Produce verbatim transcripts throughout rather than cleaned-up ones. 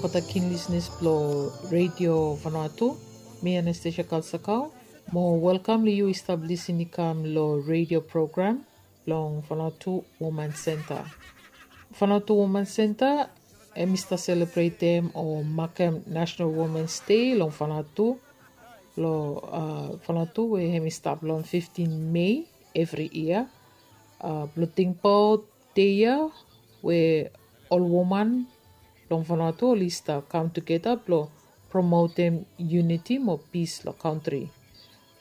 Olgeta kin lisenas blong Radio Vanuatu, mi Anastasia Kalsakau. Mo welkam long yu i stap lisin i kam long radio program blong Vanuatu Woman Center. Vanuatu Woman Center hemi stap selebretem o makem National Women's Day long Vanuatu. Long uh, Vanuatu we hemi stap long fifteen Mei evri yia. Uh, blong tingbaot dei ya we ol woman long Vanuatu oli stap kam tugeta blong promotem uniti mo pis long kantri.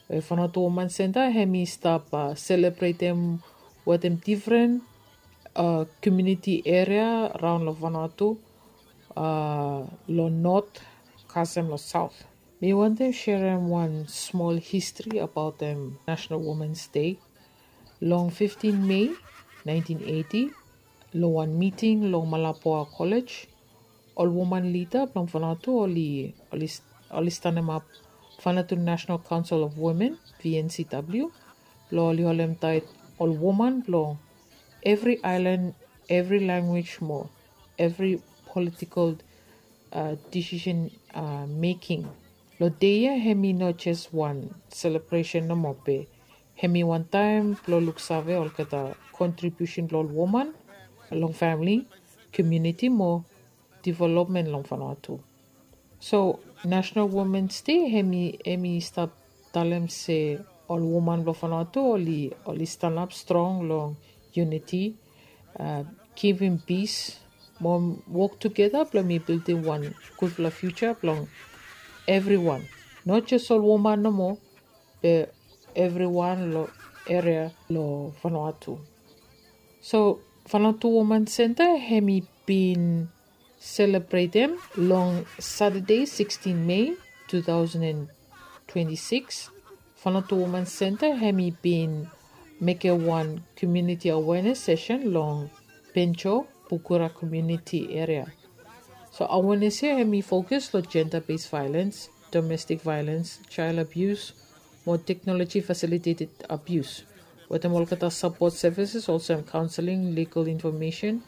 We Vanuatu Woman Center hemi stap uh, selebretem wetem difren uh, komuniti eria raon long Vanuatu, uh, long not kasem long saot. Mi wantem serem wan smol histri abaotem National Women's Day. Long fifteen Mei nineteen eighty, long wan miting long Malapua College, ol woman lida blong Vanuatu oli oli oli stanemap Vanuatu National Council of Women, V N C W, blong oli holem taet ol woman blong evri aelan, evri lanwis mo evri politikol uh, decision uh, making. Long dei ya hemi no jes wan selebresen nomo be hemi wan taem blong luksave olgeta kontribiusen blong ol woman long famili, komuniti mo developmen long Vanuatu. So National Women's Day hemi hemi stap talem se ol woman blong Vanuatu oli oli stanap strong long uniti, uh, givim pis mo wok tugeta blong mi bildim wan gudfala fiuja blong evriwan, not jes ol woman nomo be evriwan long eria long Vanuatu. So Vanuatu Woman Center hemi bin selebretem long Satade sixteen Mei two thousand and twenty-six. Vanuatu Woman Center hemi bin mekem wan komuniti awenes sesen long Penjo, Pukura komuniti eria. So awenes ya hemi fokus long jenda bes vaelens, domestik vaelens, jael abius, mo teknoloji fasiliteted abius, wetem olgeta sapot sevises olsem kaonseling, ligal infomesen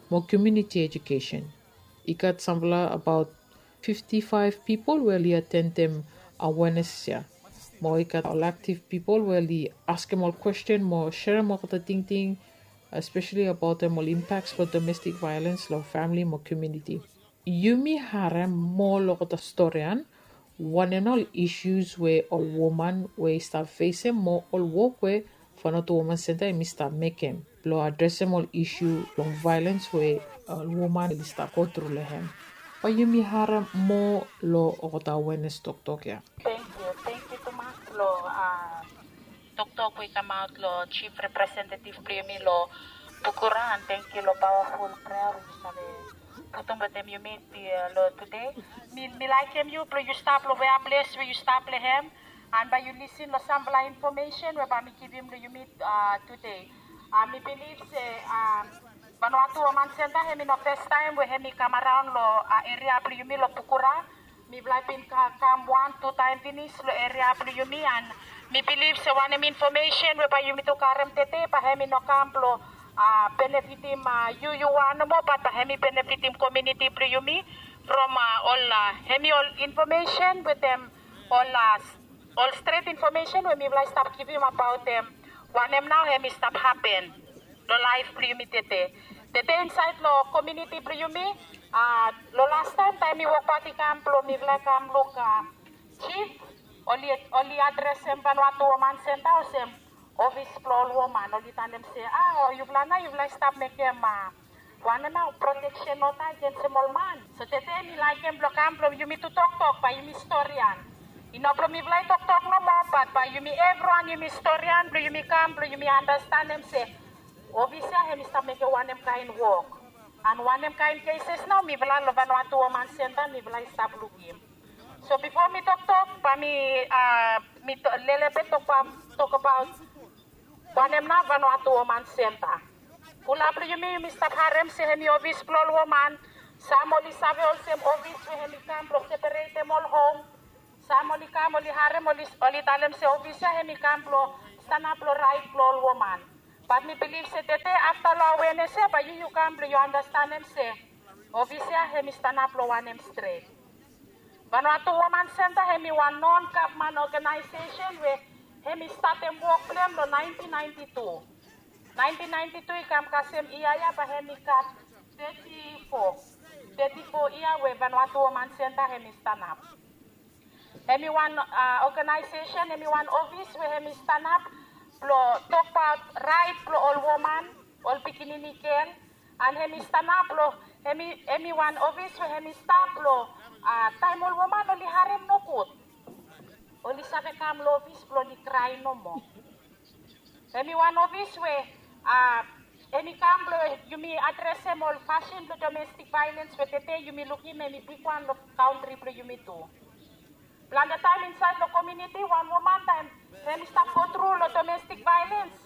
mo komuniti ejukesen. I gat samfala abaot fifti faef pipol we oli atendem awenes ya. Mo i gat ol aktiv pipol we oli askem ol kwesten mo serem olgeta tingting, espeseli abaotem ol impaks blong domestik vaelens long famili mo komuniti. Yumi harem moa long olgeta storian wanem nao ol isus we ol woman we i stap fesem mo ol wok we Vanuatu Woman Center hemi stap mekem blong adresem ol isu blong vaelens we ol woman oli stap gotru long hem. Bae yumi harem moa long olgeta awenes toktok ya. Tangkiu, tangkiu tumas long uh, toktok we i kamaot long chief representative blong yumi long Pukura, and tangkiu long pawaful prea we yu save putum wetem yumi long tude. Mi mi laikim yu blong yu stap long wea ples we yu stap long hem, and bae yu lisin long samfala infomesen we bae mi givim long yumi uh, tude. Uh, mi bilif se uh, Vanuatu Woman Center hemi no fes taem we hemi kam araon long uh, eria blong yumi long Pukura. Mifala i bin ka- kam wan tu taem finis long eria blong yumi, and mi bilif se wanem infomesen we bae yumi tu karem tede bae hemi no kam blong uh, benefitim uh, yu yu wan nomo, bat bae hemi benefitim komuniti blong yumi from uh, ol uh, hemi ol infomesen wetem ol uh, ol stret infomesen we mifala i stap givim abaotem wanem nao hemi stap hapen long laef blong yumi tede. Tede insaed long komuniti blong yumi, uh, long lastaem taem mi wokbaot i kam blong mifala i kam luk uh, chief, oli oli adresem Vanuatu Woman Center olsem ofis blong ol woman, oli talem se ah, o yufala nao yufala i stap mekem uh, wanem nao proteksen ota agensem ol man. So tede mi laikim blong kam blong yumi tu toktok bae yumi storian. I no blong mifala i toktok nomo, bat bae yumi evriwan yumi storian blong yumi kam blong yumi andastanem se ofis ya hemi stap mekem wanem kaen wok, and wanem kaen keses nao mifala long Vanuatu Woman Center mifala i stap lukim. So bifo mi toktok bae mi uh, mi lelebet tokbaot tokbaot wanem nao Vanuatu Woman Center. Fulap long yumi yumi stap harem se hemi ofis blong ol woman. Sam oli save olsem ofis we hemi kam blong seperetem ol hom. Sam oli kam oli harem oli oli talem se ofis ya hemi kam blong stanap long raet blong ol woman. Bat mi bilif se tede afta long awenes ya bae yu yu kam blong yu andastanem se Ofis ya hemi stanap long wanem stret? Vanuatu Woman Center hemi wan non gavman oganaesesen we hemi statem wok blong hem long naentin naenti tu. Naentin naenti tu i kam kasem yia ya bae hemi gat teti fo, teti fo yia we Vanuatu Woman Center hemi stanap. Hemi wan oganaesesen, hemi wan ofis we hemi stanap blong tokbaot raet blong ol woman, ol pikinini gel, and hemi stanap blong hemi, hemi wan ofis we hemi stap blong taem ol woman oli harem nogud, oli save kam long ofis blong oli krae nomo. Hemi wan ofis we hemi kam blong yumi adresem ol fasin blong domestik vaelens we tede yumi lukim hemi bigwan long kantri blong yumi tu. Plante taem insaed long komuniti wan woman taem hemi stap gotru long domestik vaelens,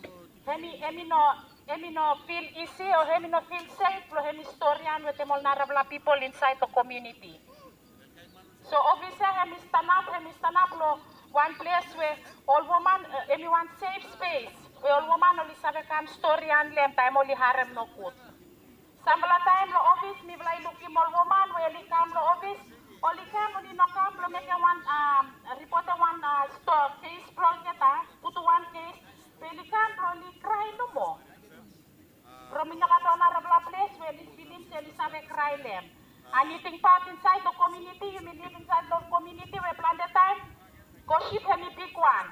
hemi, hemi no, hemi no fil isi o hemi no fil sef blong hemi storian wetem ol narafala pipol insaed long komuniti. So ofis ya hemi stanap, hemi stanap long wan ples we ol woman, hemi wan sef spes we ol woman oli save kam storian long hem taem oli harem nogud. Samfala taem long ofis mifala i lukim ol woman we oli kam long ofis, oli kam, oli no kam blong mekem wan ripotem wan stori, kes blong olgeta, putum wan kes, be oli kam blong oli krae nomo. From i no gat ol narafala ples we oli filim se oli save krae long hem. And yu tingbaot insaed long komuniti, yumi liv insaed long komuniti we plante taem gosip hemi bigwan.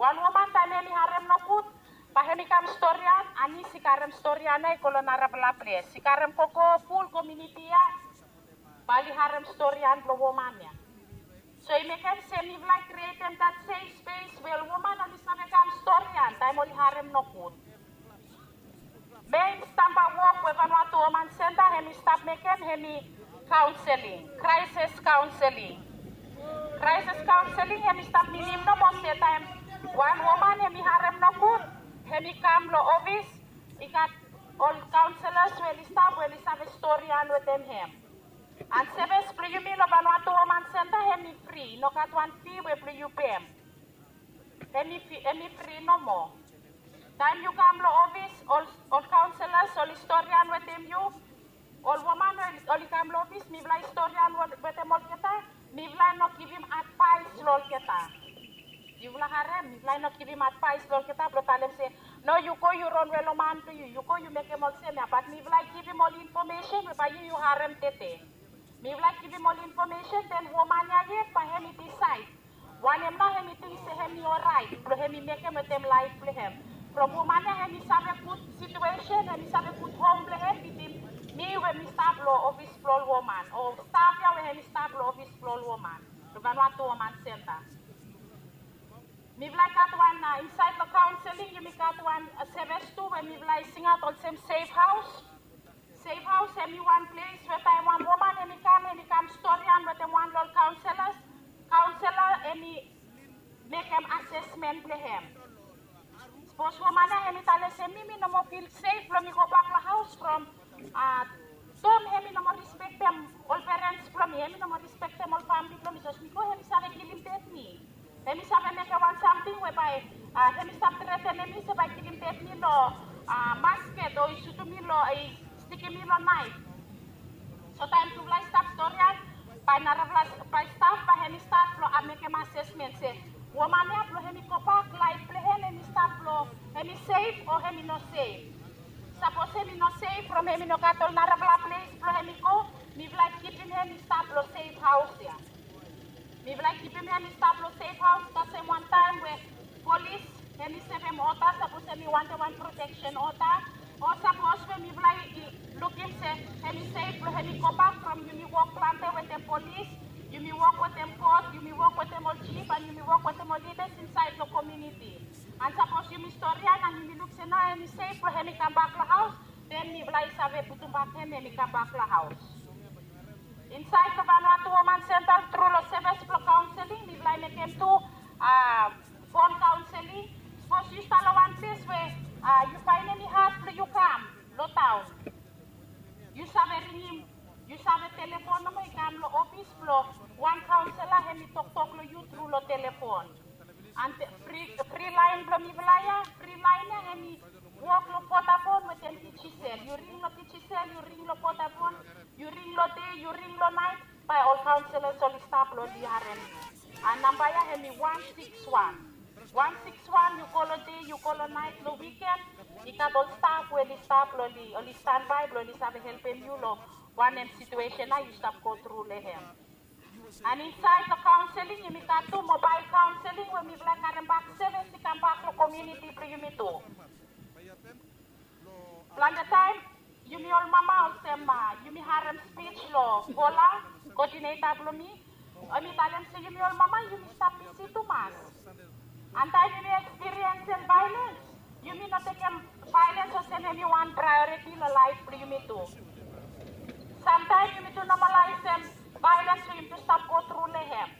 Wan woman taem hemi harem nogud, bae hemi kam storian, and i si karem storian ya i go long narafala ples, i karem gogo ful komuniti ya, bae oli harem storian blong woman ya. So i mekem se mifala i krietem dat sef spes we ol woman oli save kam storian taem oli harem nogud. Mein stamba wok we Vanuatu Woman Center hemi stap mekem hemi kaonseling, kraesis kaonseling. Kraesis kaonseling hemi stap minim nomo se taem wan woman hemi harem nogud, hemi kam long ofis, i gat ol kaonselas we oli stap we oli save storian wetem hem. And sevis blong yumi long Vanuatu Woman Center hemi fri, i no gat wan fi we blong yu pem. Hemi fri nomo. Taem yu kam long ofis, ol kaonselas oli storian wetem yu. Ol woman we oli kam long ofis, mifala i storian wetem olgeta. Mifala i no givim advaes long olgeta. Yufala harem, mifala i no givim advaes long olgeta blong talem se, no, yu go yu ronwe long man blong yu, yu go yu mekem olsem ya. Bat mifala i givim ol infomesen we bae yu yu harem tede. Mifala i givim ol infomesen, den woman ya yet bae hemi disaed. Wanem nao hemi ting se hemi oraet blong hemi mekem wetem laef blong hem. From woman ya hemi save gud situesen, hemi save gud hom blong hem, bitim mi we mi stap long ofis blong ol woman, o staf ya we hemi stap long ofis blong ol woman long Vanuatu Woman Center. Mifala i gat wan, insaed long kaonseling yumi gat wan sevis tu we mifala i singaot olsem sef haos. Sef haos hemi wan ples we taem wan woman hemi kam, hemi kam storian wetem wan long ol kaonselas, kaonsela hemi mekem asesmen blong hem. Sapos woman ya hemi talem se mi, mi no moa fil sef blong mi gobak long haos from Tom hemi no moa rispektem ol perens blong mi, hemi no moa rispektem ol famili blong mi, sapos mi go hemi save kilim ded mi. Hemi save mekem wan samting we bae hemi stap tretenem mi se bae kilim ded mi long masket o i sutum mi long, i stikim mi long naef. So taem tufala i stap storian, bae narafala bae staf bae hemi stat blong mekem asesmen se woman ya blong hemi gobak laef blong hem, hemi stap blong hemi sef o hemi no sef. Sapos hemi no sef from hemi no gat ol narafala ples blong hemi go, mifala i kipim hem i stap long sef haos ya. Mifala i kipim hem i stap long sef haos, kasem wan taem we polis hemi sevem oda, sapos hemi wantem wan proteksen oda, o sapos we mifala i lukim se hemi sef blong hemi gobak from yumi wok plante wetem polis, yumi wok wetem kot, yumi wok wetem ol jif, and yumi wok wetem ol lidas insaed long komuniti. And sapos yumi storian and yumi luk se nao hemi sef blong hemi kambak long haos, den mifala i save putumbak hem, hemi kambak long haos. Insaed long Vanuatu Woman Center tru long sevis blong kaonseling, mifala i mekem tu fon kaonseling. Sapos yu stap long wan ples we yu faenem i had blong yu kam long taon, yu save ringim, yu save telefon nomo i kam long ofis blong wan kaonsela, hemi toktok long yu tru long telefon. And fri, fri laen blong mifala ya, fri laen ya hemi wok long Vodafone wetem Digicel. Yu ring long Digicel, yu ring long Vodafone, Yu ring lo dei, yu ring lo naet, bae ol kaonselas oli stap lo oli harem yu. A namba ya hemi wan sikis wan. Wan sikis wan, yu kol lo dei, yu kol lo naet, lo wiken, i gat ol staf we oli stap lo oli, oli stanbae blo oli save helpem yu lo wanem situesen ya yu stap go tru lo hem. An insaed lo kaonseling yumi gat tu mobael kaonseling we mifala i karem bak sevis i kam bak lo komuniti blo yumi tu. Plante taem yumi ol mama olsem, a, yumi harem spij lo Gola, kodineta blo mi, hemi talem se yumi ol mama yumi stap bisi tumas. An taem yumi ekspiriensem vaelens, yumi no tekem vaelens olsem hemi wan praeoriti lo laef blo yumi tu. Samtaem yumi tu nomalaesem vaelens we yumi tu stap go tru lo hem.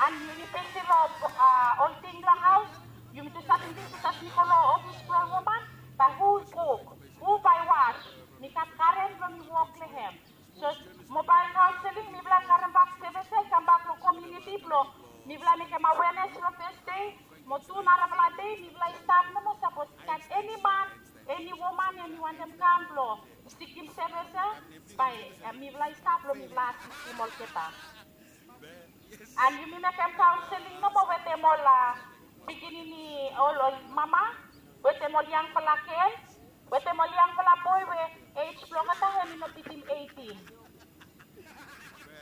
An yumi bisi lo, a, ol ting lo haos, yumi tu save bisi, save go lo ofis blo ol woman, bae hu kuk, hu bae was, mi gat karen blo mi wok lo hem. So mobael kaonseling mifala i karem bak sevis ya i kam bak lo komuniti blo mifala i mekem awenes lo Tasde mo tu narafala dei mifala i stap nomo, sapos i gat eni man, eni woman hemi wantem kam blo sikim sevis ya, bae, e, mifala i stap blo mifala asistem olgeta. An yumi mekem kaonseling nomo wetem ol, a, pikinini, ol, ol mama, wetem ol yangfala gel, wetem ol yangfala boe we ej blo olgeta hemi no bitim eighteen.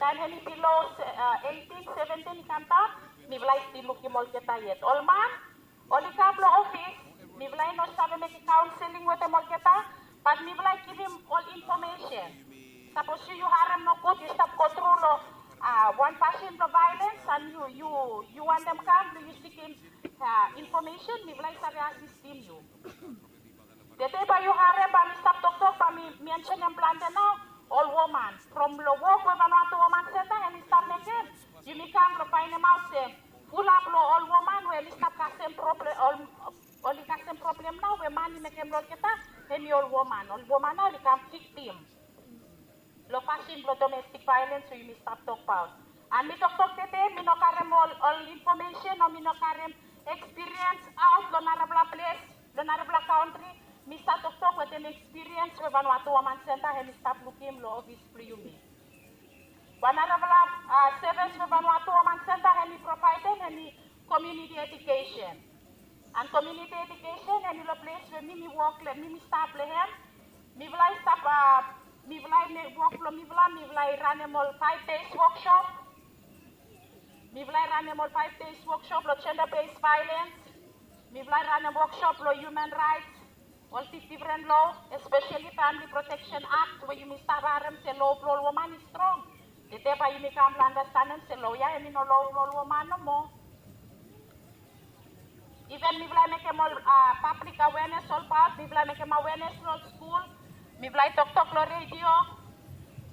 Taem hemi bilo, a, eighteen, seventeen i kam daon, mifala i stil lukim olgeta yet. Ol man oli kam lo ofis, mifala i no save mekem kaonseling wetem olgeta, bat mifala i givim ol infomesen. Sapos yu, yu harem nogud, yu stap go tru lo, a, wan fasin blo vaelens, an yu, yu, yu wantem kam blo yu sikim, a, infomesen, mifala i save asistem yu. Tede bae yu harem bae mi stap toktok, bae mi, mi mensenem plante nao, ol woman. From lo wok we Vanuatu Woman Senta hemi stap mekem, yumi kam blo faenemaot se fulap lo ol woman we oli stap kasem problem, ol, oli kasem problem nao we man i mekem lo olgeta, hemi ol woman. Ol woman nao oli kam viktim lo fasin blo domestik vaelens we yumi stap tokbaot. An mi toktok tede, mi no karem ol, ol infomesen o mi no karem ekspiriens aot lo narafala ples, lo narafala kantri. Mi stap toktok wetem ekspiriens we Vanuatu Woman Senta hemi stap lukim lo ofis blo yumi. Wan narafala, a, sevis we Vanuatu Woman Senta hemi provaedem hemi komuniti edukesen. An komuniti edukesen hemi lo ples we mi mi wok lo, mi mi stap lo hem. Mifala i stap, a, mifala i mekem wok blo mifala, mifala i ranem ol five days workshop. Mifala i ranem ol five days workshop lo gender based violence. Mifala i ranem workshop lo human rights, ol dif-, difren lo, especially Family Protection Act, we yumi stap harem se lo blo ol woman i strong. Tede bae yumi kam blo andastanem se lo ya hemi no lo blo ol woman nomo. Iven mifala i mekem ol, a, pablik awenes olbaot, mifala i mekem awenes lo ol skul, mifala i toktok lo redio,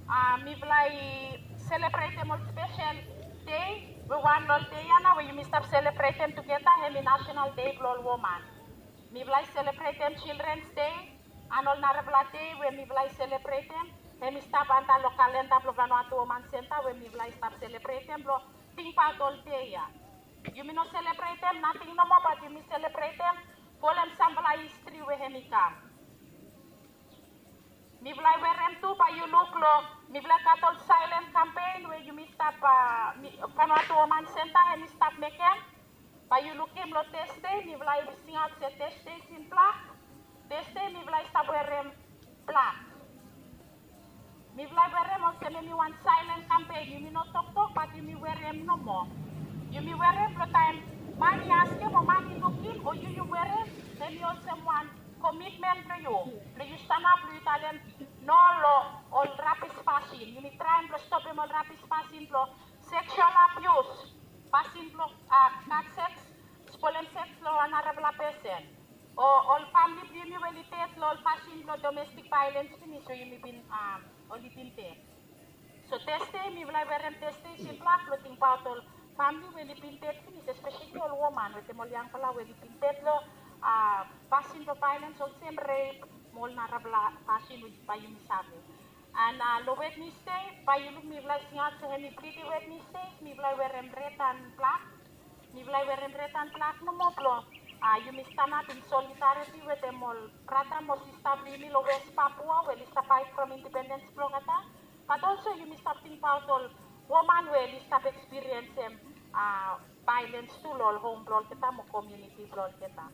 a, mifala i selebretem ol spesel dei, we wan lo ol dei ya nao we yumi stap selebretem tugeta, hemi National Day blo ol Woman. Mifala i selebretem Children's Day, an ol narafala dei we mifala i selebretem, hemi stap anta lo kalenda blo Vanuatu Woman Senta we mifala i stap selebretem blo tingbaot ol dei ya. Yumi no selebretem nating nomo, bat yumi selebretem folem samfala histri we hemi kam. Mifala i werem tu, bae yu luk lo, mifala i gat ol silent campaign we yumi stap, a, mi, Vanuatu Woman Senta hemi stap mekem. Bae yu lukim lo Tasde, mifala i singaot se Tasde sin blak. Tasde mifala i stap werem blak. Mifala i werem olsem hemi wan silent campaign, yumi no toktok, bat yumi werem nomo. Yumi werem blo taem man i askem o man i lukim o yu yu werem, hemi olsem wan komitmen blo yu, blo yu stanap, blo yu talem no lo ol rabis fasin. Yumi traem blo stopem ol rabis fasin blo sexual abuse, fasin blo, a, gat seks, spolem seks lo wan narafala pesen. O ol famle blo yumi we oli ded lo ol fasin blo domestik vaelens finis we yumi bin, a, oli bin ded. So Tasde, mifala i werem Tasde sin blak blo tingbaot ol famle we oli bin ded finis, espeseli ol woman wetem ol yangfala we oli bin ded lo, a, fasin blo vaelens olsem rep mo ol narafala fasin we bae yumi save. An, a, lo Wednesde, bae yu luk mifala i singaot se hemi Bleeding Wednesday, mifala i werem red an blak. Mifala i werem red an blak nomo blo a, yumi stanap in solidariti wetem ol brata mo sista blong yumi long West Papua we oli stap faet from independens blong olgeta. Bat olso yumi stap tingbaot ol woman we oli stap ekspiriensem, a, vaelens tu long ol hom blong olgeta mo komuniti blong olgeta.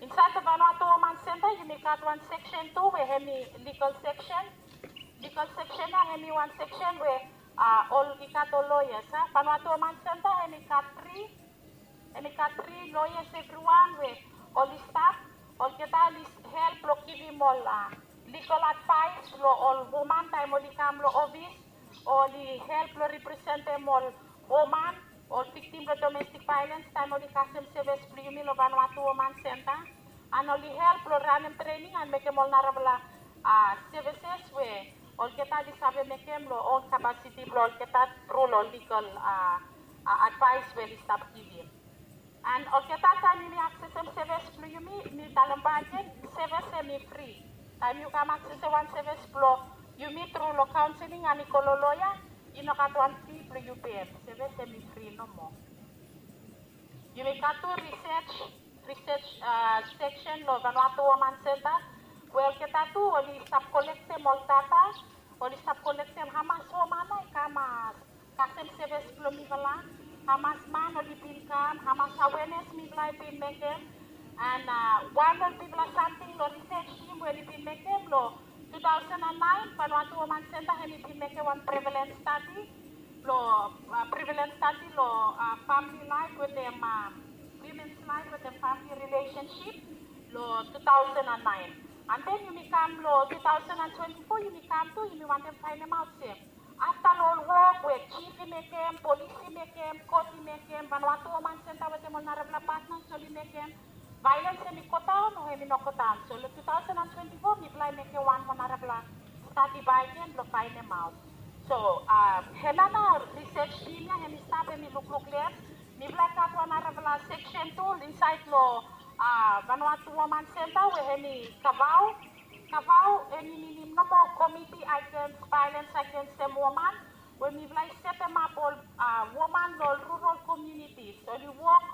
Insaed long Vanuatu Woman Center yumi gat wan seksen tu we hemi ligal seksen. Ligal seksen ya hemi wan seksen we, a, ol i gat ol loyas, a. Vanuatu Woman Center hemi gat tri, hemi gat tri loyas evriwan we oli stap, olgeta oli help long givim ol, a, ligal advaes long ol woman taem oli kam long ofis, oli help long representem ol woman, ol viktim blong domestik vaelens taem oli kasem sevis blong yumi long Vanuatu Woman Center. And oli help long ranem trening and mekem ol narafala, a, sevises we olgeta oli save mekem long own kapasiti blong olgeta tru long ligal, a, a, advaes we oli stap givim. And olgeta taem yumi aksesem sevis blong yumi, mi talem bak agen, sevis hemi fri. Taem yu kam aksesem wan sevis blong yumi tru long kaonseling and i go long loya, i no gat wan fi blong yu pem. Sevis hemi fri nomo. Yumi gat tu risej, risej, a, seksen long Vanuatu Woman Center we olgeta tu oli stap kolektem ol data, oli stap kolektem hamas woman nao i kam, a, kasem sevis blong mifala, hamas man oli bin kam, hamas awenes mifala i bin mekem. And, a, wan long bigfala samting long risej tim we oli bin mekem long two thousand and nine, Vanuatu Woman Center hemi bin mekem wan prevalens stadi long, a, prevalens stadi long, a, famili laef wetem, a, womens laef wetem famili rilesensip long two thousand and nine. And then yumi kam long two thousand and twenty-four, yumi kam tu, yumi wantem faenemaot se afta long ol wok we jif i mekem, polis i mekem, kot i mekem, Vanuatu Woman Center wetem ol narafala patnas oli mekem, vaelens hemi godaon o hemi no godaon. So long two thousand and twenty-four mifala i mekem wan moa narafala stadi bak agen blong faenemaot. So, a, hemia nao risej tim ya hemi stap hemi lukluk les. Mifala i gat wan narafala seksen tu insaed long, a, Vanuatu Woman Center we hemi kavao. Kavao hemi minim nomo Committee Against Violence Against Women, we mifala i setemap ol, a, woman long ol rural communities. Oli wok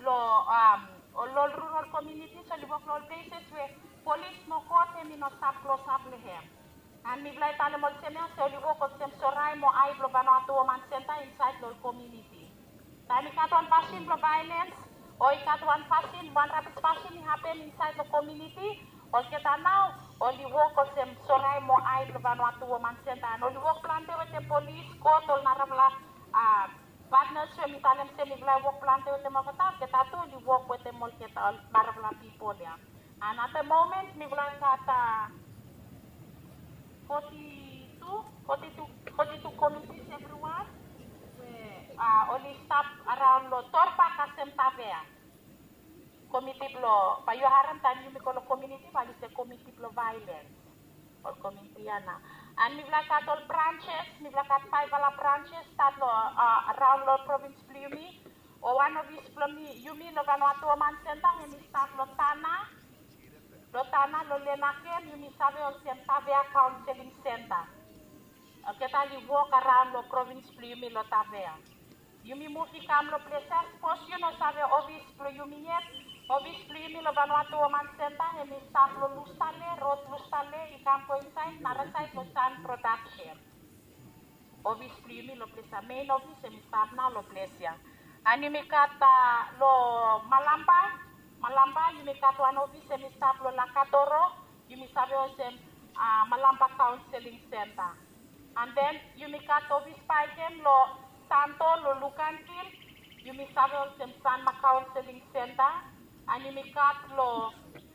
long, am, ol, ol rural communities, oli wok long ol places we polis mo kot hemi no stap klosap long hem. And mifala i talem olsem ya se oli wok olsem sorae mo ae blong Vanuatu Woman Center insaed long ol komuniti. Taem i gat wan fasin blong vaelens o i gat wan fasin, wan rabis fasin i hapen insaed long komuniti, olgeta nao oli wok olsem sorae mo ae blong Vanuatu Woman Center. And oli wok plante wetem polis, kot, ol narafala, a, patnas we mi talem se mifala i wok plante wetem olgeta, olgeta tu oli wok wetem olgeta, ol narafala pipol ya. And at the moment mifala i gat, a, foti tu, foti tu, foti tu komitis evriwan we, a, oli stap araon long Torba kasem Tavea. Komiti blong, bae yu harem taem yumi go long komuniti bae oli se komiti blong vaelens. Ol komuniti ya nao. And mifala i gat ol branches, mifala i gat faefala branches stat long, a, araon long provins blong yumi. O wan ofis blong mi, yumi long Vanuatu Woman Center hemi stap long Tanna. Long Tanna, long Lenaken, yumi save olsem Tavea Counseling Center. Olgeta oli wok araon long provins blong yumi long Tavea. Yumi muv i kam long ples ya, sapos yu no save ofis blong yumi yet, ofis blong yumi long Vanuatu Woman Center hemi stap long Lustale, rod Lustale, i kam go insaed narasaed long Sun Production. Ofis blong yumi long ples ya, mein ofis hemi stap nao long ples ya. And yumi gat, a, long Malampa, Malampa yumi gat wan ofis hemi stap long Lakatoro, yumi save olsem, a, Malampa Counseling Center. And then yumi gat ofis bakegen long Santo, long Luganville, yumi save olsem Sanma Counseling Center. And yumi gat long,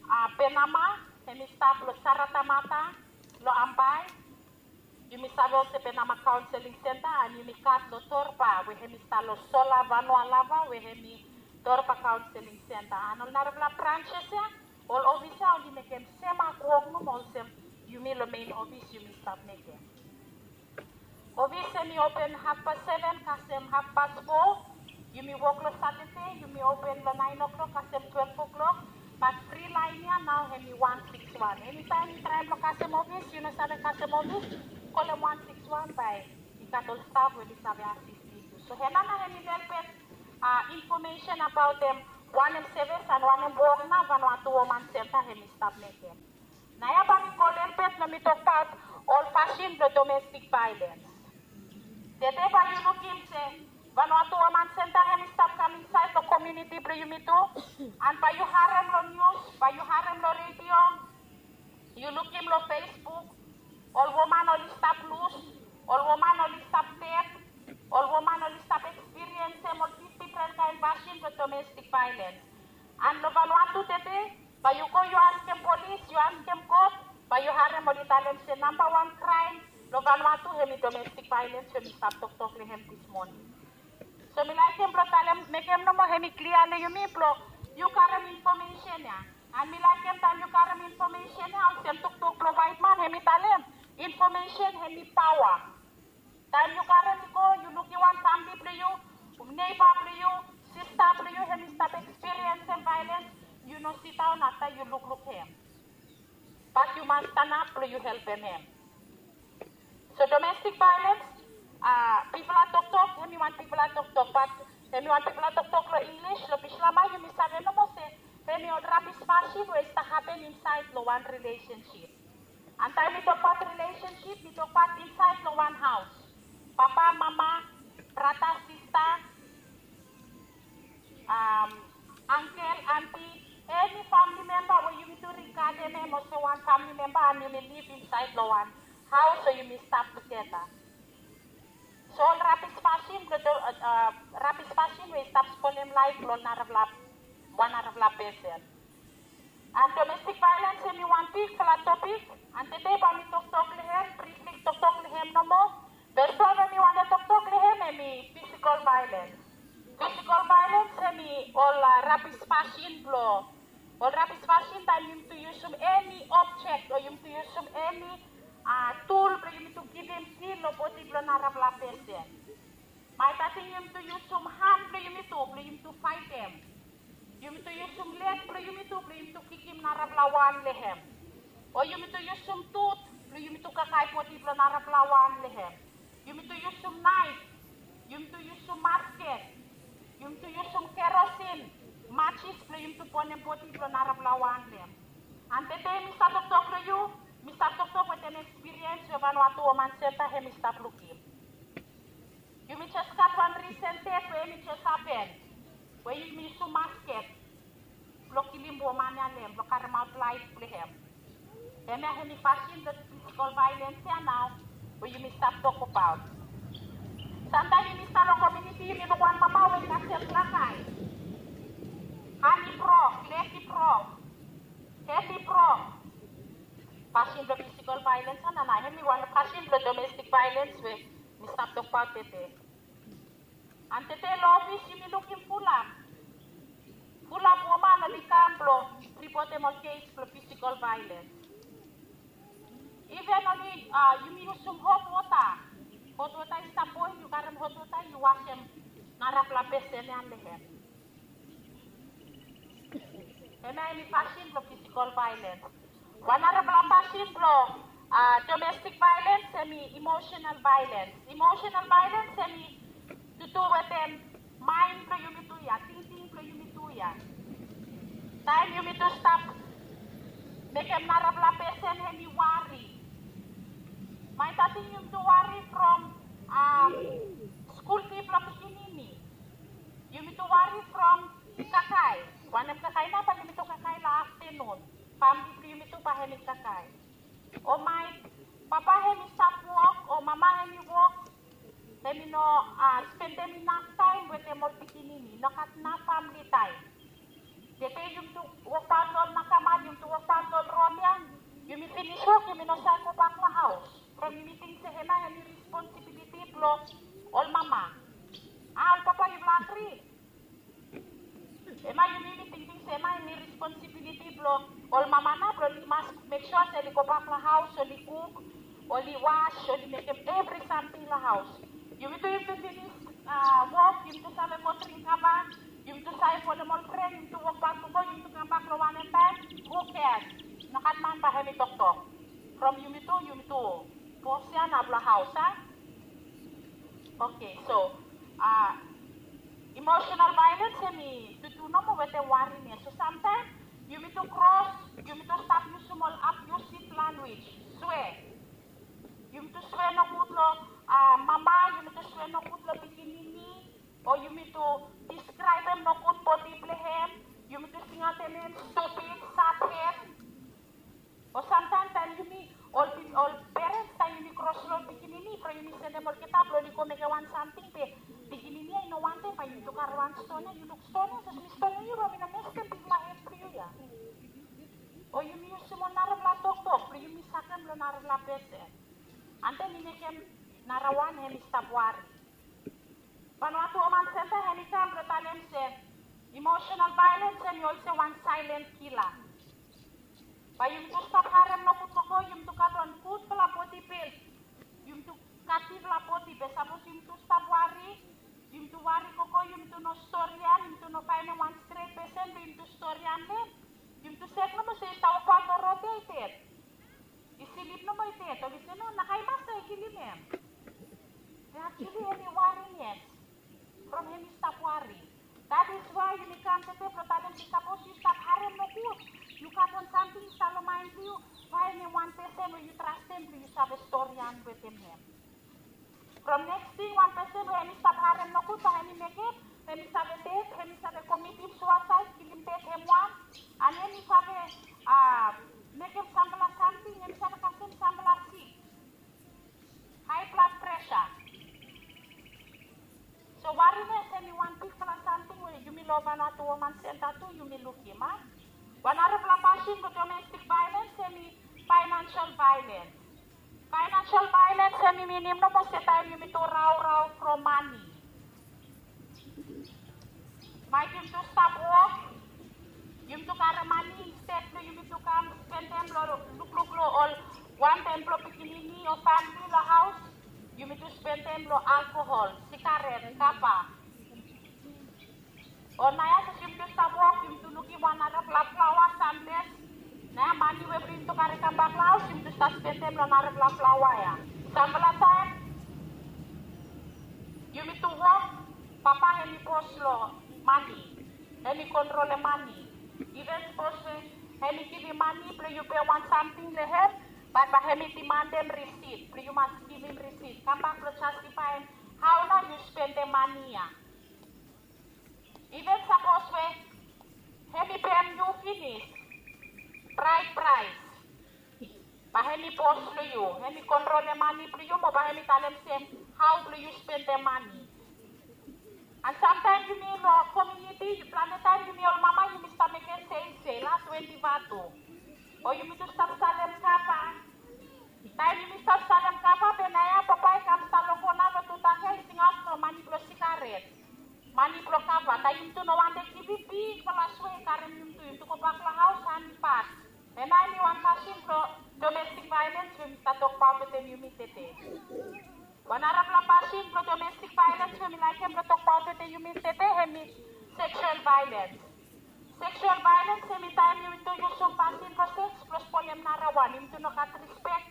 a, Penama, hemi stap long Saratamata, long Ambae, yumi save olsem Penama Counseling Center. And yumi gat long Torba we hemi stap long Sola Vanua Lava we hemi Torba Counseling Center. And ol narafala branches ya, ol ofis ya oli mekem sem wok nomo olsem yumi long mein ofis yumi stap mekem. Ofis hemi open hafpas seven kasem hafpas fo. Yumi wok long Satade, yumi open long naen o'clock kasem twelve o'clock. Bat fri laen ya nao hemi wan sikis wan. Enitaem yu traem blong kasem ofis, yu no save kasem ofis, kolem wan sikis wan bae i gat ol staf we oli save asistem yu. So hemia nao hemi lelebet, a, infomesen abaot, em, Wanem sevis and wanem wok nao Vanuatu Woman Center hemi stap mekem? Naoia bae mi go lelebet blong mi tokbaot ol fasin blong domestik vaelens. Tede bae yu lukim se Vanuatu Woman Center hemi stap kam insaed long komuniti blong yumitu, and bae yu harem long nius, bae yu harem long redio, yu lukim long Facebook, ol woman oli stap lus, ol woman oli stap ded, ol woman oli stap ekspiriensem ol difdifren kaen fasin blong domestik vaelens. And long Vanuatu tede, bae yu go yu askem polis, yu askem kot, bae yu harem oli talem se nambawan kraem long Vanuatu hemi domestik vaelens, hemi stap toktok long hem dis moning. So mi laekem blong talem, mekem nomo hemi klia long yumi blong yu karem infomesen ya. And mi laekem taem yu karem infomesen ya, olsem toktok blong waetman hemi talem, infomesen hemi paoa. Taem yu karem i go, yu lukim wan famle blong yu, neiba blong yu, sista blong yu hemi stap ekspiriensem vaelens, yu no sidaon afta yu lukluk hem. Bat yu mas stanap blong yu helpem hem. So domestik vaelens, a, bigfala toktok, hemi wan bigfala toktok, bat hemi wan bigfala toktok long Inglis, long Bislama yumi save nomo se hemi ol rabis fasin we i stap hapen insaed long wan rilesensip. And taem mi tokbaot rilesensip, mi tokbaot insaed long wan haos. Papa, mama, brata, sista, am, angkel, anti, eni famle memba we yumitu rigadem hem olsem wan famle memba and yumi liv insaed long wan haos o yumi stap tugeta. So ol rabis fasin blong, a, rabis fasin we i stap spolem laef blong narafala, wan narafala pesen. And domestik vaelens hemi wan bigfala topik, and tede bae mi toktok long hem, brifli toktok long hem nomo. Fes wan we mi wantem toktok long hem hemi fisikol vaelens. Fisikol vaelens hemi ol, a, rabis fasin blong, ol rabis fasin taem yumitu yusum eni objek o yumitu yusum eni, a, tul blong yumitu givim pin long bodi blong narafala pesen. Maet ating yumitu yusum han blong yumitu, blong yumitu faetem. Yumitu yusum leg blong yumitu, blong yumitu kikim narafala wan long hem. O yumitu yusum tut blong yumitu kakae bodi blong narafala wan long hem. Yumitu yusum naef, yumitu yusum masket, yumitu yusum kerosin, matsis blong yumitu bonem bodi blong narafala wan long hem. And tede mi stap toktok long yu, mi stap toktok wetem ekspiriens we Vanuatu Woman Center hemi stap lukim. Yumi jes gat wan risen ded we hemi jes hapen, we yumi yusum masket blong kilim woman ya long hem, blong karemaot laef blong hem. Hemia hemi fasin blong fisikol vaelens ya nao we yumi stap tokbaot. Samtaem yumi stap long komuniti, yumi luk wan mama we i gat sem kakae. Han i brok, leg i brok, hed i brok. Fasin blong fisikol vaelens ya nao, hemi wan fasin blong domestik vaelens we mi stap tokbaot tede. And tede long ofis yumi lukim fulap, fulap woman oli kam blong ripotem ol kes blong fisikol vaelens. Iven oli, a, yumi yusum hot wota. Hot wota i stap boel, yu karem hot wota, yu wasem narafala pesen ya long hem. Hemia hemi fasin blong fisikol vaelens. Wan narafala fasin blong, a, domestik vaelens hemi emosenal vaelens. Emosenal vaelens hemi tudu wetem maen blong yumitu ya, tingting blong yumitu ya. Taem yumitu stap mekem narafala pesen hemi wari. Maet ating yumitu wari from, a, skul fi blong pikinini. Yumitu wari from kakae. Wanem kakae nao bae yumitu kakae long aftenun. Famle blong yumitu bae hemi kakae. O maet papa hemi stap wok, o mama hemi wok, hemi no, a, spendem inaf taem wetem ol pikinini, no gat naf famle taem. Tede yumitu wokbaot long ol nakamal, yumitu wokbaot long ol rod ya, yumi finis wok, yumi no save gobak long haos. From yumi ting se hemia hemi responsibiliti blong ol mama. A, ol papa, yufala agri? Hemia yumi, yumi tingting se hemia hemi responsibiliti blong ol mama nao blong oli mas mek sua se oli gobak long haos, oli kuk, oli was, oli mekem evri samting long haos. Yumitu, yumitu finis, a, wok, yumitu save go dring kava, yumitu save folem ol fren, yumitu wokbaot gogo, yumitu kambak long wanem taem, who cares? Nogat man bae hemi toktok. From yumitu, yumitu bos ya nao blong haos, a? Oke, so, a, Emotional violence hemi tutu nomo wetem wari. So samtaem yumi tu kros, yumi tu stap yusum ol abusive language. Swear. Yumi tu swear nogud lo, ah, mama, yumi tu swear nogud lo pikinini, o yumi tu describem nogud bodi blo hem, yumi tu singaotem hem stupid, saphet. O samtaem taem yumi ol, ol parents, taem yumi kros lo ol pikinini, blo yumi sendem olgeta blo oli go mekem wan samting be pikinini ya i no wantem, bae yumi tu karem wan stone ya, yu luk stone ya, sapos mi stonem yu, bae mi no mestem bigfala het blo yu ya. O yumi yusum ol narafala toktok blo yumi sakem lo narafala pesen. Ante mi mekem narawan, hemi stap wari. Vanuatu Woman Center hemi kam blo talem se emotional violence hemi olsem wan silent killer. Bae yumi tu stap harem nogud gogo, yumi tu gat wan gudfala bodi build. Yumi tu gat bigfala bodi, be sapos yumi tu stap wari, yumi tu wari gogo, yumi tu no storian, yumi tu no faenem wan stret pesen blo yumi tu storian lo hem. Yumi tu sek nomo se i stap wokbaot lo rod ya i ded. I slip nomo i ded, oli se no, nakae masta i kilim hem. Be actually hemi wari yet. From hemi stap wari. That is why yumi kam tede blo talem se sapos yu stap harem nogud, yu gat wan samting i stap lo maen blo yu, faenem wan pesen we yu trastem blo yu save storian wetem hem. From next ting, wan pesen we hemi stap harem nogud, bae hemi mekem, hemi save ded, hemi save komitim suasaed, kilim ded hem wan, and hemi save, ah, mekem samfala samting, hemi save kasem samfala sik. High blood pressure. So wariness hemi wan bigfala samting we yumi lo Vanuatu Woman Center tu yumi lukim, a? Wan narafala fasin blo domestic violence hemi financial violence. Financial violence hemi minim nomo se taem yumi tu raorao from mane. Maet yumi tu stap wok, yumi tu karem mane, instead blo yumi tu kam spendem lo lukluk lo ol wantem blo pikinini o famili lo haos, yumi tu spendem lo alkohol, sigaret, kava. O naoia sapos yumi tu stap wok, yumi tu lukim wan narafala flaoa samples. Naoia mane we blo yumi tu karem kambak lo haos, yumi tu stap spendem lo narafala flaoa ya. Samfala taem yumi tu wok, papa hemi bos lo mane, hemi kontrolem mane. Iven sapos hemi givim mane blo yu pem wan samting lo hem, be bae hemi dimandem risit blo yu mas givim risit, kambak blo jastifaem hao nao yu spendem mane ya. Iven sapos we hemi pem yu finis, braet braet, bae hemi bos lo yu, hemi kontrolem mane blo yu, mo bae hemi talem se hao blo yu spendem mane. And samtaem yumi lo komuniti, plante taem yumi ol mama yumi stap mekem seisei, las twenti vatu. O yumi tu stap salem kava. Taem yumi stap salem kava, be naoia papa i kam stap lo kona lo tu tang ya, i singaot lo mane blo sigaret, mane blo kava. Taem yumi tu no wantem givim, bigfala swe i karem yumi tu, yumi tu gobak lo haos, han i bad. Hemia hemi wan fasin blo domestic violence we mi stap tokbaot wetem yumi tede. Wan narafala fasin blo domestic violence we mi laekem blo tokbaot wetem yumi tede hemi sexual violence. Sexual violence hemi taem yumi tu yusum fasin blo seks blo spolem narawan, yumi tu no gat rispek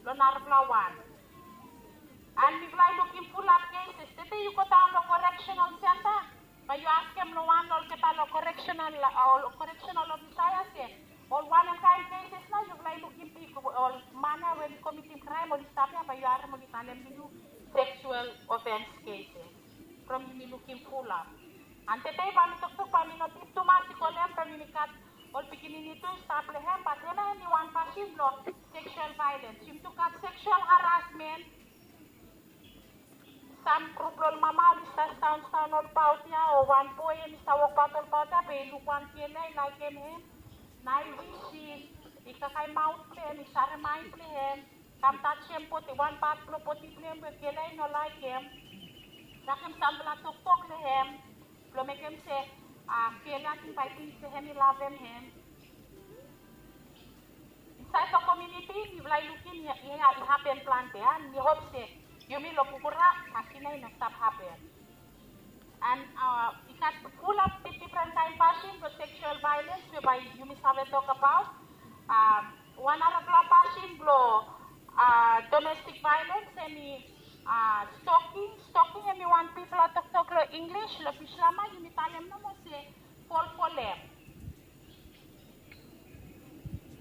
lo narafala wan. And mifala i lukim fulap cases. Tede yu godaon lo correctional center, bae yu askem lo wan lo olgeta lo correctional, ol correctional officer ya se, ol wanem kaen cases nao yufala i lukim big, ol man ya we oli komitim kraem oli stap ya, bae yu harem oli talem lo yu sexual offense cases. From yumi lukim fulap. And tede bae mi toktok, bae mi no dip tumas i go lo hem, from yumi gat ol pikinini tu i stap lo hem, bat hemia hemi wan fasin blo sexual violence. Yumi tu gat sexual harassment. Sam grup lo ol mama oli stap sidaon, sidaon olbaot ya, o wan boe hemi stap wokbaot olbaot ya, be i luk wan gel ya, i laekem hem. Nao i wis i kakae maot blo hem, i sarem ai blo hem, kam tajem bodi, wan pat blo bodi blo hem we gel ya i no laekem. Sakem samfala toktok lo hem blo mekem se, a, gel ya ting, bae i ting se hemi lavem hem. Insaed lo komuniti mifala i lukim ya, ya i hapen plante, a, mi hop se yumi lo Bukura fasin ya i no stap hapen. And, a, i gat fulap difdifren kaen fasin blo sexual violence we bae yumi save tokbaot. A, wan narafala fasin blo, a, domestic violence hemi, a, stalking. Stalking hemi wan bigfala toktok lo English lo Bislama yumi talem nomo se folfolem.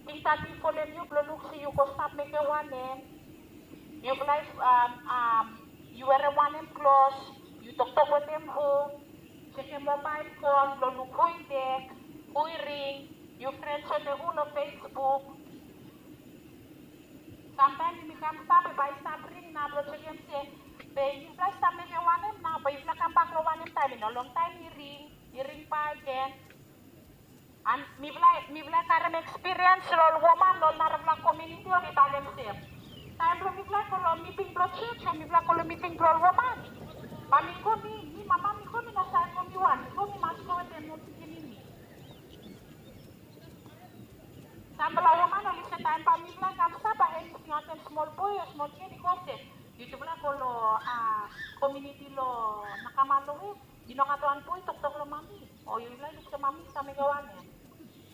Tingting folem yu blong luk se yu go stap mekem wanem. Yu flae, um, um, yu werem wanem klos, yu toktok wetem hu, jekem mobael fon blong luk hu i tek, hu i ring, yu frens wetem hu lo Facebook. Samtaem yumi kam stap, bae i stap ring nao blong jekem se be yufala i stap mekem wanem nao, be yufala kambak long wanem taem, i no longtaem i ring, i ring bakegen. And mifala, mifala karem ekspiriens lo ol woman lo narafala komuniti oli talem se taem blong mifala go lo miting blong jos o mifala go lo miting blong ol woman, ba mi go, mi, mi mama mi go, mi no save go mi wan, mi go mi mas go wetem ol pikinini. Samfala woman oli se taem ba mifala kam stap, ba hemi singaotem smol boe o smol gel i go se, yutufala go lo, a, komuniti lo Nakama lo we i no gat wan boe i toktok lo mami, o yufala i luk se mami i stap mekem wanem.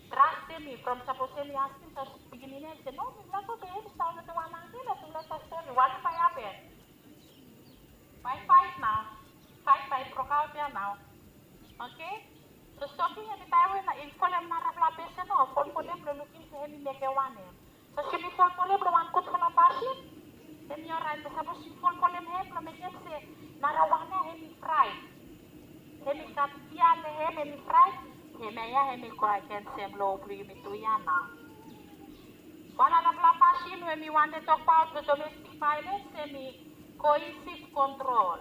Trastem mi from sapos hemi askem, sapos pikinini hemi se no, mifala go be hemi stap wetem wan ankel o tufala i stap stori, wanem bae i hapen? Bae i faet nao. Faet bae i brokaot ia nao. Oke? So stori hemi taem we i folem narafala pesen o folfolem blong lukim se hemi mekem wanem. Sapos yumi folfolem lo wan gudfala fasin, hemi oraet. Be sapos yu folfolem hem blong mekem se narawan ia hemi fraet, hemi gat fia lo hem, hemi fraet, hemia ia hemi go agensem lo blong yumi tu ia nao. Wan narafala fasin we mi wantem tokbaot lo domestik vaelens hemi coercive control.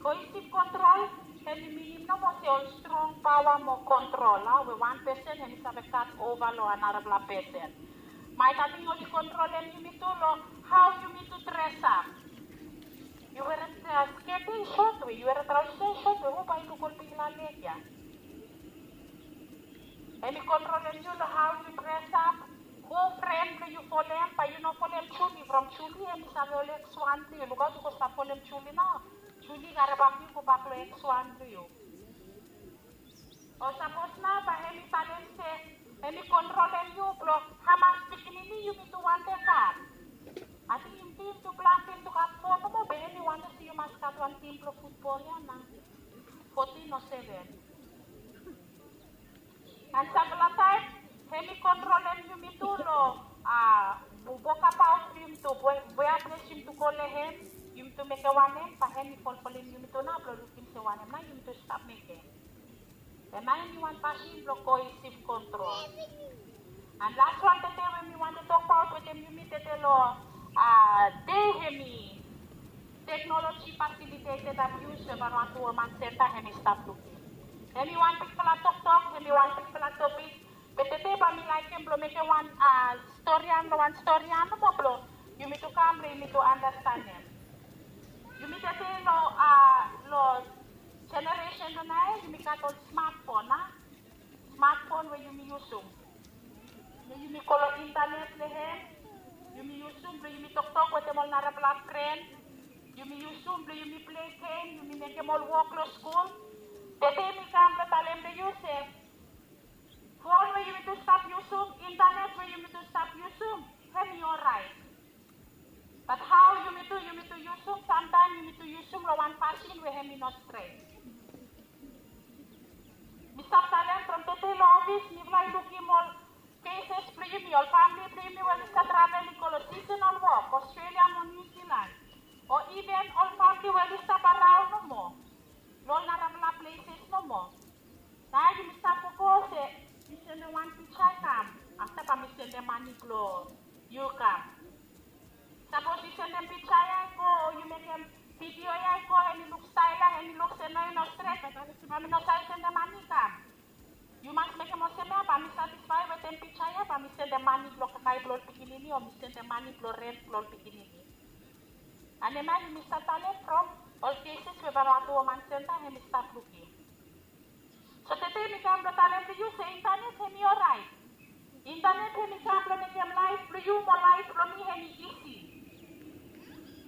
Coercive control hemi minim nomo se ol strong paoa mo kontrol, a, we wan pesen hemi save gat ova lo narafala pesen. Maet ating oli kontrolem yumitu lo hao yumitu dresap. Yu werem, a, sket ia i sot we, yu werem traosa ia i sot we, hu bae i luk ol bigfala leg ia? Hemi kontrolem yu lo hao yu dresap, hu fren blong yu folem, bae yu no folem Juli from Juli hemi save ol eks wan blong yu. Lukaot yu go stap folem Juli nao, Juli i karem bak yu gobak lo eks wan blong yu. O sapos nao bae hemi talem se hemi kontrolem yu blong hamas pikinini yumitu wantem gat. Ating yumi, yumi tu planti, yumi tu gat fo nomo, be hemi wantem se yu mas gat wan tim blong futbol ia nao, fotin o seven. And samfala taem hemi kontrolem yumitu lo, a, wokabaot blong yumitu, wea ples yumitu go lo hem, yumitu mekem wanem, bae hemi folfolem yumitu nao blong lukim se wanem nao yumitu stap mekem. Hemia hemi wan fasin blong coercive control. And las wan tede we mi wantem tokbaot wetem yumi tede lo, a, dei hemi technology facilitated abuse we Vanuatu Woman Center hemi stap lukim. Hemi wan bigfala toktok, hemi wan bigfala topik. Be tede bae mi laekem blong mekem wan, a, storian lo wan storian nomo blong yumitu kam blong yumitu andastanem. Yumi tede lo, a, lo jeneresen lo naoia yumi gat ol smatfon, a, smatfon we yumi yusum blong yumi go lo intanet lo hem. Yumi yusum blong yumi toktok wetem ol narafala fren. Yumi yusum blong yumi plei gem, yumi mekem ol wok lo skul. Tede mi kam blong talem lo yu se fon we yumitu stap yusum, intanet we yumitu stap yusum, hemi oraet. Bat hao yumitu, yumitu yusum, samtaem yumitu yusum lo wan fasin we hemi no stret. Mi stap talem from tede lo ofis, mifala i lukim ol keses blong yumi, ol famili blong yumi we oli stap travel i go lo seasonal wok, Australia mo New Zealand, o iven ol famili we oli stap araon nomo lo ol narafala pleses nomo. Nao yumi stap gogo se mi sendem wan piksa i kam, afta bae mi sendem mane blong yu i kam. Sapos yu sendem piksa ia i go, o yu mekem vidio ia i go, hemi luk stael ia, hemi luk se no, i no stret, bae mi no save sendem mane i kam. Yu mas mekem olsem ia, bae mi satisfae wetem piksa ia, bae mi sendem mane blong kakae blong ol pikinini, o mi sendem mane blong rent blong ol pikinini. And hemia yumi stap talem from ol keses we Vanuatu Woman Center hemi stap lukim. So tede mi kam blong talem long yu se intanet hemi oraet. Intanet hemi kam blong mekem laef blong yu mo laef blong mi hemi isi.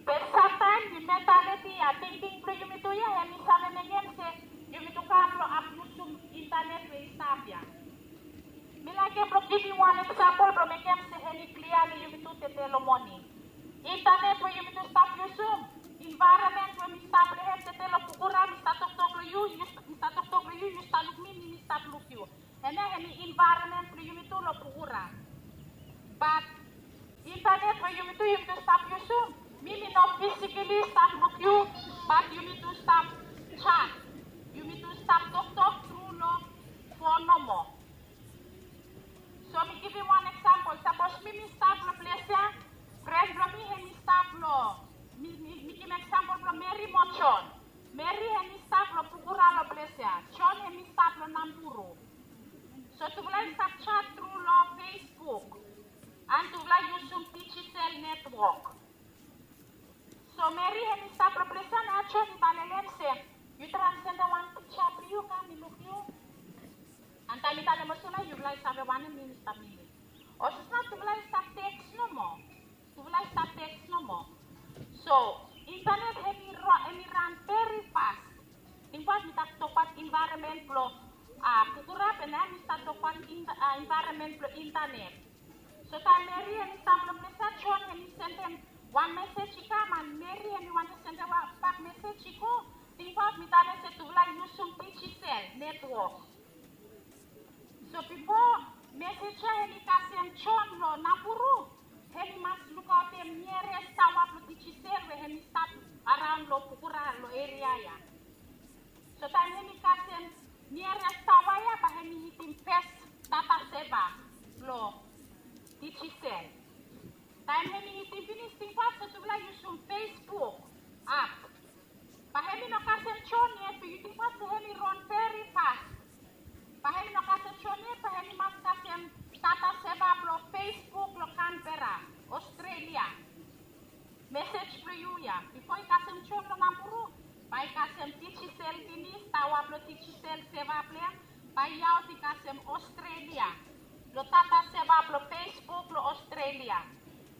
Be samtaem mentaliti ia, tingting blong yumitu ia hemi save mekem se yumitu kam blong abiusum intanet we i stap ia. Mi laekem blong givim wan eksampol blong mekem se hemi klia long yumitu tede lo moning. Intanet we yumitu stap yusum, envaeronmen we mi stap long hem tede lo Bukura, mi stap toktok long yu, i yumi tu stap yusum. Mi mi no physically stap luk yu, bat yumi tu stap chat. Yumi tu stap toktok tru long fon nomo. So mi givim wan eksampol. Sapos mi mi stap long ples ya, fren blong mi hemi stap long, mi mi mi givim eksampol blong Meri mo Jon. Meri hemi stap long Pukura long ples ya. Jon hemi stap long Namburu. So tufala i stap chat tru long Facebook. And tufala i yusum Digicel network. So Meri hemi stap long ples ya, na Jon i talem se, yu traem sendem wan piksa blong yu, kam mi luk yu. And taem mi talem olsem nao, yufala i save wanem mi mi stap minim. Olsem nao tufala i stap teks nomo. Tufala i stap teks nomo. So internet hemi ran, hemi ran veri fas. Tingbaot mi stap tokbaot environment blong, a, Pukura, be nao mi stap tokbaot environment blong internet. So taem Meri hemi stap long ples ya, Jon hemi sendem wan mesej i kam, and Meri hemi wantem sendem wan bak mesej i go. Tingbaot mi talem se tufala i yusum Digicel network. So bifo mesej ya hemi kasem Jon long Namburu, hemi mas lukaotem nearest taoa blong Digicel we hemi stap araon long Pukura long eria ya. So taem hemi kasem nearest taoa ya, bae hemi hitim fes data saver blong Digicel. Taem hemi hitim finis, tingbaot se tufala i yusum Facebook app. Bae hemi no kasem Jon yet, be yu tingbaot se hemi ran veri fas. Bae hemi no kasem Jon yet, bae hemi mas kasem data saver blong Facebook long Canberra, Australia. Mesej blong yu ya, bifo i kasem Jon long Namburu, bae i kasem Digicel finis, taoa blong Digicel saver blong hem, bae i aot i kasem Australia. Long data saver blong Facebook long Australia.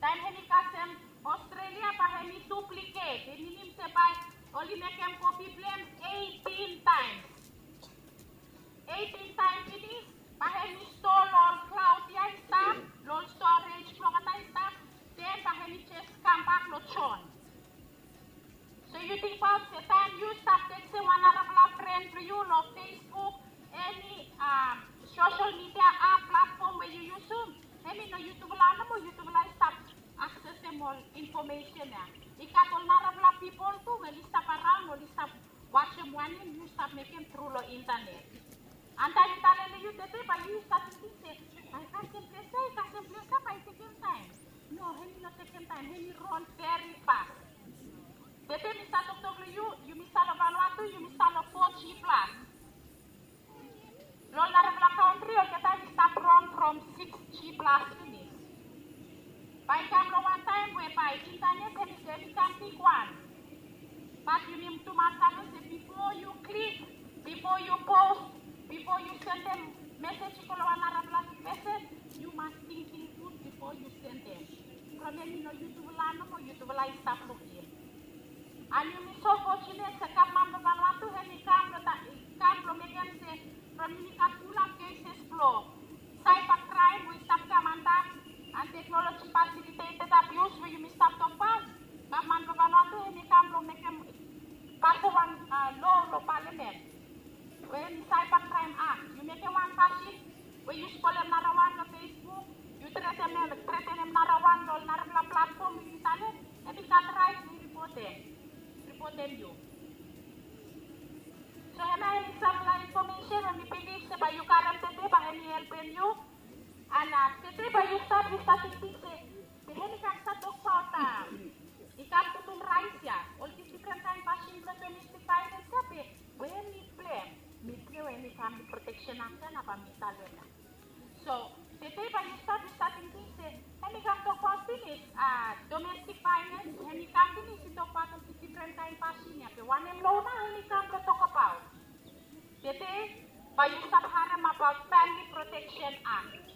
Taem hemi kasem Australia, bae hemi duplicate, i minim se bae oli mekem kopi blong hem eighteen times. Eighteen taem finis, bae hemi stoa long ol cloud ya i stap, long ol storage blong olgeta i stap, den bae hemi jes kambak long Jon. So yu tingbaot se taem yu stap tekstem wan narafala fren blong yu long Facebook, eni, am, social media app platform we yu yusum, hemi no yutufala nomo yutufala i stap aksesem ol infomesen ya. I gat ol narafala pipol tu we oli stap araon, oli stap wajem wanem yu stap mekem tru long internet. And taem mi talem long yu tede, bae yu stap tingting se, bae i kasem ples ya, i kasem ples ya, bae i tekem taem. No, hemi no tekem taem, hemi ran veri fas. Tede mi stap toktok long yu, yumi stap long Vanuatu, yumi stap long four G plus. Long ol narafala kantri olgeta i stap ran from six G plus finis. Bae i kam long wan taem we bae internet hemi, hemi kam bigwan. Bat yumi tu mas save se bifo yu klik, bifo yu post, bifo yu sendem mesej i go long wan narafala pesen, yu mas tingting gud bifo yu sendem. From hemi no yutufala nomo yutufala i stap lukim. And yumi so fortunate se gavman blong Vanuatu hemi kam blong ta-, kam blong mekem se from yumi gat fulap cases blong cyber crime we i stap kam antap, and technology facilitated abuse we yumi stap tokbaot, gavman blong Vanuatu hemi kam blong mekem, pasem wan, a, law long palamen we hemi Cyber Crime Act. Yu mekem wan fasin we yu spolem narawan long Facebook, yu tretenem, tretenem narawan long narafala platform we yu talem, hemi gat raet blong ripotem, ripotem yu. So hemia hemi samfala infomesen we mi bilif se bae yu karem tede, bae hemi helpem yu. And, a, tede bae yu stap, yu stap tingting se, be hemi kam stap tokbaot, a, i kam putum raet ya, ol difren kaen fasin blong domestic violence ya, be we hemi blong hem, mi prea we hemi Family Protection Act ya nao bae mi talem ya. So tede bae yu stap, yu stap tingting se hemi kam tokbaot finis, a, domestic violence, hemi kam finis i tokbaot ol difren kaen fasin ya, be wanem lo nao hemi kam blong tokbaot? Tede bae yu stap harem abaot Family Protection Act.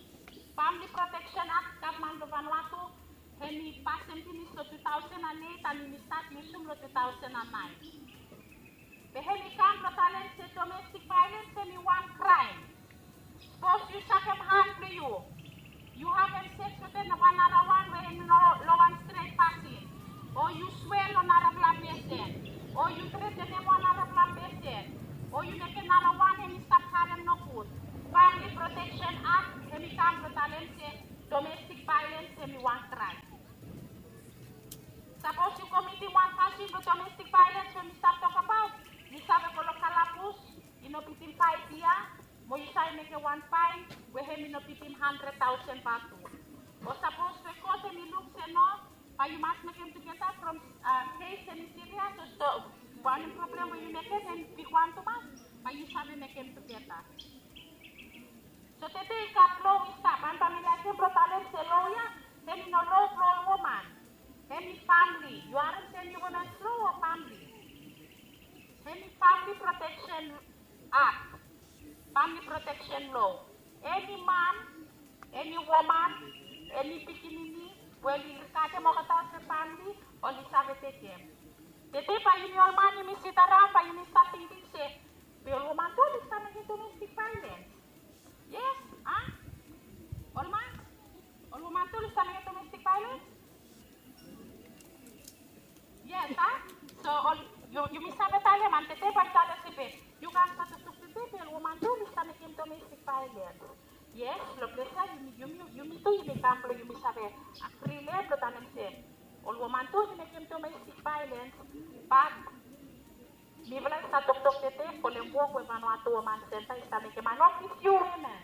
Family Protection Act, gavman blong Vanuatu hemi pasem finis long two thousand and eight, and yumi stat yusum long two thousand and nine. Be hemi kam blong talem se domestic violence hemi wan kraem. Sapos yu sakem han blong yu, yu havem seks wetem wan narawan we hemi no long wan stret fasin, o yu swea long narafala pesen, o yu tretenem wan narafala pesen, o yu mekem narawan hemi stap harem nogud, Family Protection Act hemi kam blong talem se domestic violence hemi wan kraem. wan faen we hemi no bitim handred taosen vatu. O sapos we kot hemi luk se no, bae yu mas mekem tugeta from kes hemi sirias, o wanem problem we yu mekem hemi bigwan tumas, bae yu save mekem tugeta. So tede i gat lo i stap, an bae mi laekem blo talem se lo ya hemi no lo blo ol woman. Hemi famili. Yu harem se hemi women lo o famili? Hemi Family Protection Act, Family Protection Law. Eni man, eni woman, eni pikinini we oli gadem olgeta olsem famili, oli save tekem. Tede bae yumi ol man yumi sidaraon bae yumi stat tingting se be ol woman tu oli save mekem domestic violence. Yes, a? Ol man, ol woman tu oli save mekem domestic violence. Yes, a? So ol, yu, yumi save talem, an tede bae mi talem se be yu gat save toktok tede be ol woman tu oli save mekem domestic violence. Yes, lo ples ya yumi, yumi, yumi tu yumi kam blo yumi save agri lo ya blo talem se ol woman tu oli mekem domestic violence. Bat mifala i stap toktok tede folem wok we Vanuatu Woman Center i stap mekem, a no olgeta woman.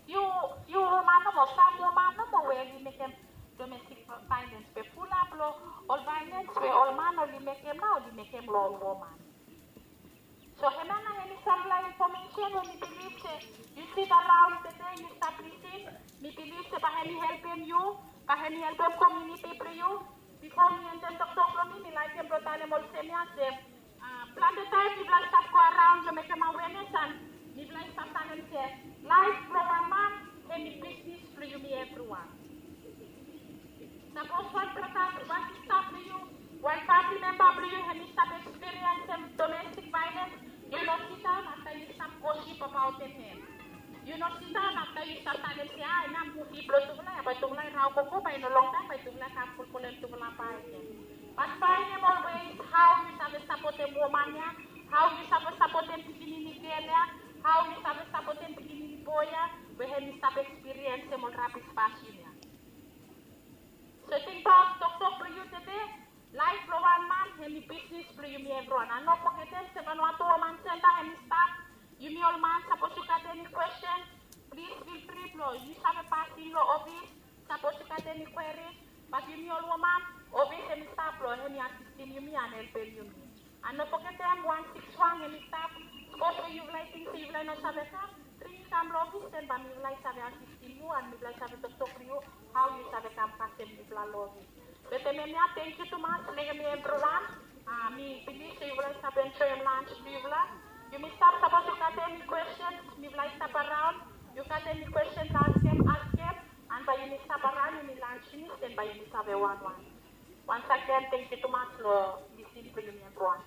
Few, few woman nomo, sam woman nomo we oli mekem domestic violence, be fulap lo ol violence we ol man oli mekem nao oli mekem lo ol woman. So hemia nao hemi samfala infomesen we mi bilif se yu sidaraon tede yu stap lisin, mi bilif se bae hemi helpem yu, bae hemi helpem komuniti blo yu. Bifo mi endem toktok blo mi, mi laekem blo talem olsem ya se plante taem mifala i stap go araon blo mekem awenes, an mifala i stap talem se laef blo wan man hemi bisnis blo yumi evriwan. Sapos wan brata, wan sista blo yu, wan famili memba blo yu hemi stap ekspiriensem domestik vaelens, yu no sidaon afta yu stap gosip abaotem hem. Yu no sidaon afta yu stap talem se, a, hemia muvi blo tufala ya, bae tufala i raogogo, bae i no longtaem bae tufala i kam fulfilem tufala bae gen. Bat faenem ol ways hao yu save sapotem woman ya, hao yu save sapotem pikinini gel ya, hao yu save sapotem pikinini boe ya we hemi stap ekspiriensem ol rabis fasin ya. So tingbaot toktok blo yu tede, laef blo wan man hemi bisnis blo yumi evriwan. An no fogetem se Vanuatu Woman Center hemi stap. Yumi ol man, sapos yu gat eni kwestin, plis feel free blo yu save pasim lo ofis. Sapos yu gat eni kweris, bat yumi ol woman, ofis hemi stap blo hemi asistem yumi an helpem yumi. An no fogetem wan sikis wan hemi stap. Sapos we yufala i ting se yufala i no save kam, bring i kam lo ofis, den bae mifala i save asistem yu an mifala i save toktok lo yu hao yu save kam kasem yufala lo ofis. Wetem hemia, tangkiu tumas lo yumi evriwan. A, mi bilif se yufala i stap enjoem lans blo yufala. Yumi stap, sapos yu gat eni kwestens, mifala i stap araon. Yu gat eni kwestens blo askem, askem. An bae yumi stap araon, yumi lans finis, den bae yumi save wanwan. Once again, tangkiu tumas lo lisin blo yumi evriwan.